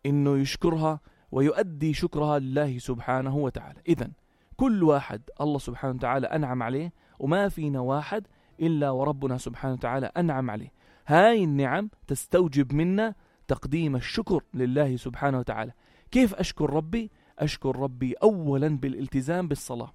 إنه يشكرها ويؤدي شكرها لله سبحانه وتعالى. إذن كل واحد الله سبحانه وتعالى أنعم عليه، وما فينا واحد إلا وربنا سبحانه وتعالى أنعم عليه. هاي النعم تستوجب منا تقديم الشكر لله سبحانه وتعالى. كيف أشكر ربي؟ أشكر ربي أولا بالالتزام بالصلاة.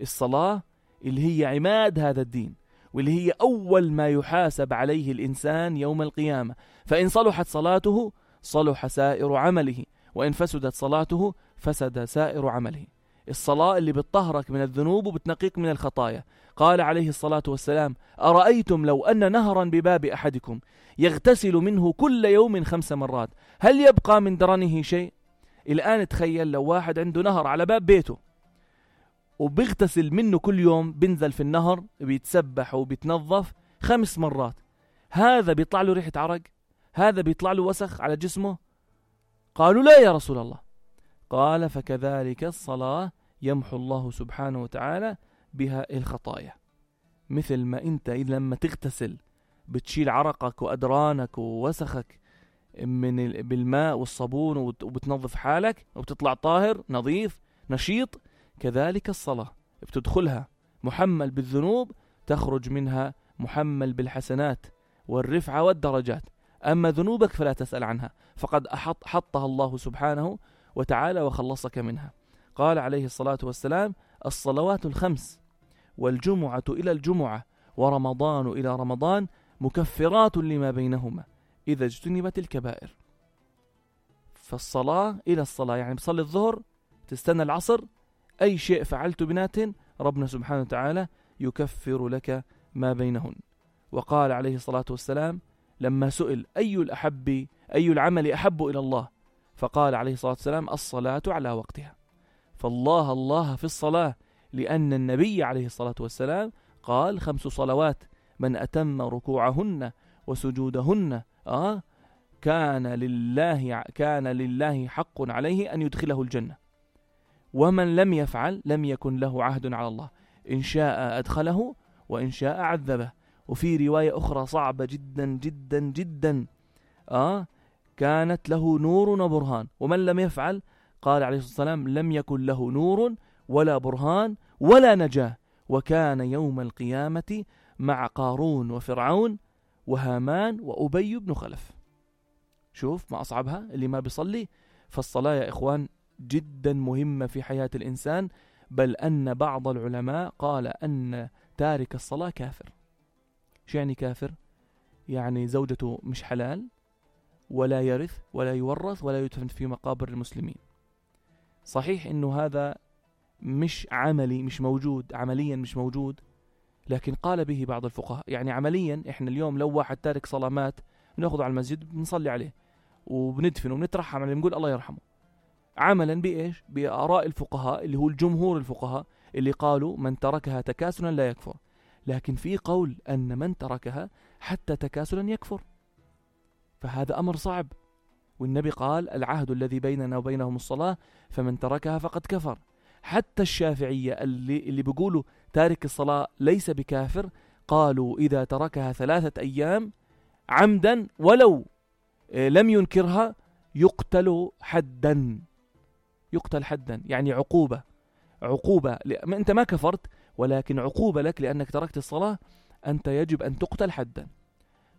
الصلاة اللي هي عماد هذا الدين، واللي هي أول ما يحاسب عليه الإنسان يوم القيامة. فإن صلحت صلاته صلح سائر عمله، وإن فسدت صلاته فسد سائر عمله. الصلاة اللي بتطهرك من الذنوب وبتنقيك من الخطايا. قال عليه الصلاة والسلام: أرأيتم لو أن نهرا بباب أحدكم يغتسل منه كل يوم 5 مرات هل يبقى من درنه شيء؟ الآن تخيل لو واحد عنده نهر على باب بيته وبيغتسل منه كل يوم، بينزل في النهر بيتسبح وبيتنظف 5 مرات، هذا بيطلع له ريحة عرق؟ هذا بيطلع له وسخ على جسمه؟ قالوا: لا يا رسول الله. قال: فكذلك الصلاة يمحو الله سبحانه وتعالى بها الخطايا. مثل ما انت لما تغتسل بتشيل عرقك وأدرانك ووسخك بالماء والصابون وبتنظف حالك وبتطلع طاهر نظيف نشيط، كذلك الصلاة بتدخلها محمل بالذنوب، تخرج منها محمل بالحسنات والرفعة والدرجات. أما ذنوبك فلا تسأل عنها، فقد حطها الله سبحانه وتعالى وخلصك منها. قال عليه الصلاة والسلام: الصلوات 5 والجمعة إلى الجمعة ورمضان إلى رمضان مكفرات لما بينهما إذا اجتنبت الكبائر. فالصلاة إلى الصلاة يعني بصلي الظهر تستنى العصر، أي شيء فعلت بنات ربنا سبحانه وتعالى يكفر لك ما بينهن. وقال عليه الصلاة والسلام لما سئل أي العمل أحب إلى الله، فقال عليه الصلاة والسلام: الصلاة على وقتها. فالله في الصلاة، لأن النبي عليه الصلاة والسلام قال: 5 صلوات من أتم ركوعهن وسجودهن كان لله حق عليه أن يدخله الجنة، ومن لم يفعل لم يكن له عهد على الله، إن شاء أدخله وإن شاء عذبه. وفي رواية أخرى صعبة جدا جدا جدا كانت له نور وبرهان، ومن لم يفعل قال عليه الصلاة والسلام لم يكن له نور ولا برهان ولا نجاة، وكان يوم القيامة مع قارون وفرعون وهامان وأبي بن خلف. شوف ما أصعبها اللي ما بيصلي. فالصلاة يا إخوان جدا مهمة في حياة الإنسان، بل أن بعض العلماء قال أن تارك الصلاة كافر. شو يعني كافر؟ يعني زوجته مش حلال، ولا يرث ولا يورث ولا يدفن في مقابر المسلمين. صحيح إنه هذا مش عملي، مش موجود عمليا، مش موجود، لكن قال به بعض الفقهاء. يعني عمليا إحنا اليوم لو واحد تارك صلاة مات بنأخذه على المسجد بنصلي عليه وبندفنه وبنترحم عليه بنقول الله يرحمه، عملا بإيش؟ بآراء الفقهاء اللي هو الجمهور الفقهاء اللي قالوا من تركها تكاسلا لا يكفر. لكن في قول أن من تركها حتى تكاسلا يكفر، فهذا أمر صعب. والنبي قال: العهد الذي بيننا وبينهم الصلاة فمن تركها فقد كفر. حتى الشافعية اللي بيقولوا تارك الصلاة ليس بكافر، قالوا إذا تركها 3 أيام عمدا ولو لم ينكرها يقتل حدا. يعني عقوبة أنت ما كفرت، ولكن عقوبة لك لأنك تركت الصلاة، أنت يجب أن تقتل حدا.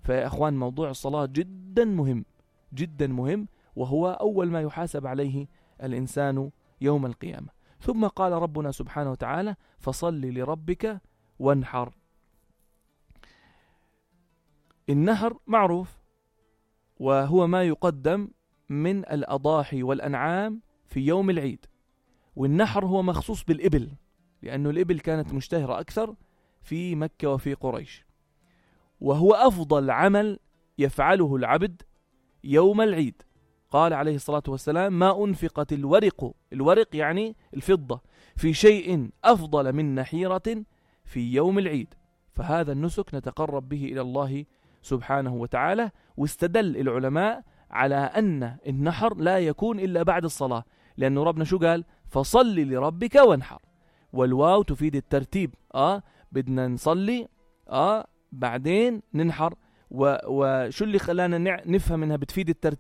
فيا أخوان موضوع الصلاة جدا مهم جدا مهم، وهو أول ما يحاسب عليه الإنسان يوم القيامة. ثم قال ربنا سبحانه وتعالى: فصل لربك وانحر. النحر معروف، وهو ما يقدم من الأضاحي والأنعام في يوم العيد. والنحر هو مخصوص بالإبل، لأنه الإبل كانت مشتهرة أكثر في مكة وفي قريش، وهو أفضل عمل يفعله العبد يوم العيد. قال عليه الصلاة والسلام: ما أنفقت الورق يعني الفضة في شيء أفضل من نحيرة في يوم العيد. فهذا النسك نتقرب به إلى الله سبحانه وتعالى. واستدل العلماء على أن النحر لا يكون إلا بعد الصلاة، لأنه ربنا شو قال؟ فصل لربك وانحر، والواو تفيد الترتيب. بدنا نصلي بعدين ننحر. وشو اللي خلانا نفهم انها بتفيد الترتيب؟